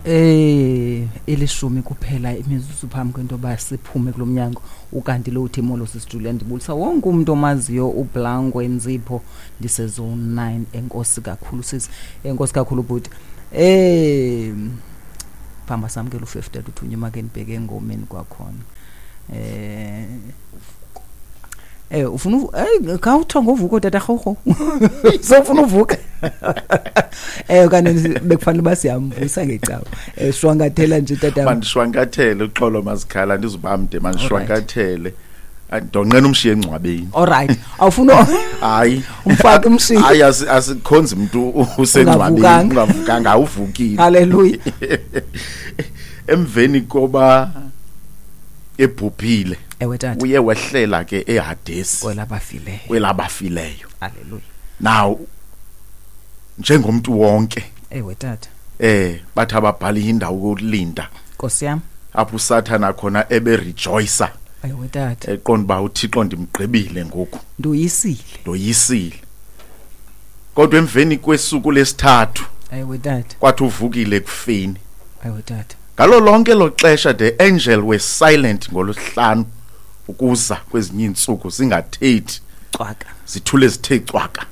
10 kuphela imizuzu phambi kwento yoba siphume kulo mnyango. Ukanti lo uthi molo sisijulia, ndibulisa wonke umuntu omaziyo uBlanco Nzipho, ndise-zone 9. Enkosi kakhulu sisi, enkosi kakhulu bhuti. Phambi samkela u50 uthunywa make ndibheke engomeni kwakhona. Ufuna khawutho ngovuko tata rhorho, sofuna uvuka kanti bekufanele uba siyamvusa ngecawa. Shwankathela nje tata. Mandishwankathele, uxolo mazikhala, ndizubamde, mandishwankathele. Ndonqena umshiye engcwabeni. Alright, awufuna Hayi. Umfake umshiye. Hayi, asikhonzi mntu usengcwabeni. Ungavukanga. Ungavukanga, awuvukile. Haleluya. Emveni koba ebhubhile, Ewe tata. uye wehlela ke eHadesi, kwelabafileyo. Kwelabafileyo. Haleluya. Now njengomuntu wonke, Ewe tata. Bathi ababhali indawo yokulinda, Nkosi yam. Apho uSathana khona ebe rejoicer, Ewe tata. Eqonda uba uThixo ndimgqibile ngoku, Ndoyisile. Ndoyisile. Kodwa emveni kwesuku lesithathu, Ewe tata. Kwathi uvukile ekufeni. Ewe tata. Ngalo lonke lo xesha the angel was silent ngolosihlanu ukuza kwezinye iintsuku zingathethi. Cwaka. Zithule zithe cwaka.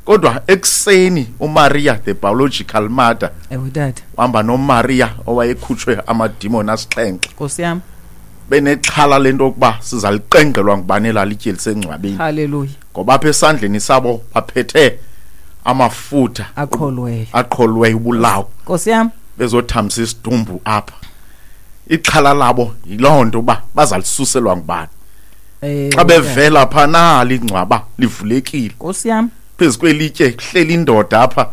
Kodwa ekuseni uMaria, the biological mother, Ewe tata. wahamba noMaria owayekhutshwe amadimoni asixhenxe. Nkosi yam. Benexhala lento yokuba sizaliqengqelwa ngubani elalitye lisengcwabeni. Haleluya. Ngoba apha esandleni sabo baphethe amafutha aqholweyo. Aqholweyo ubulawo. Nkosi yam. Bezothamsa isidumbu apha. Ixhala labo yiloo nto uba bazalisuselwa ngubani. Xa bevela pha nali ingcwaba livulekile. Nkosi yam. Phezu kwelitye kuhleli indoda apha.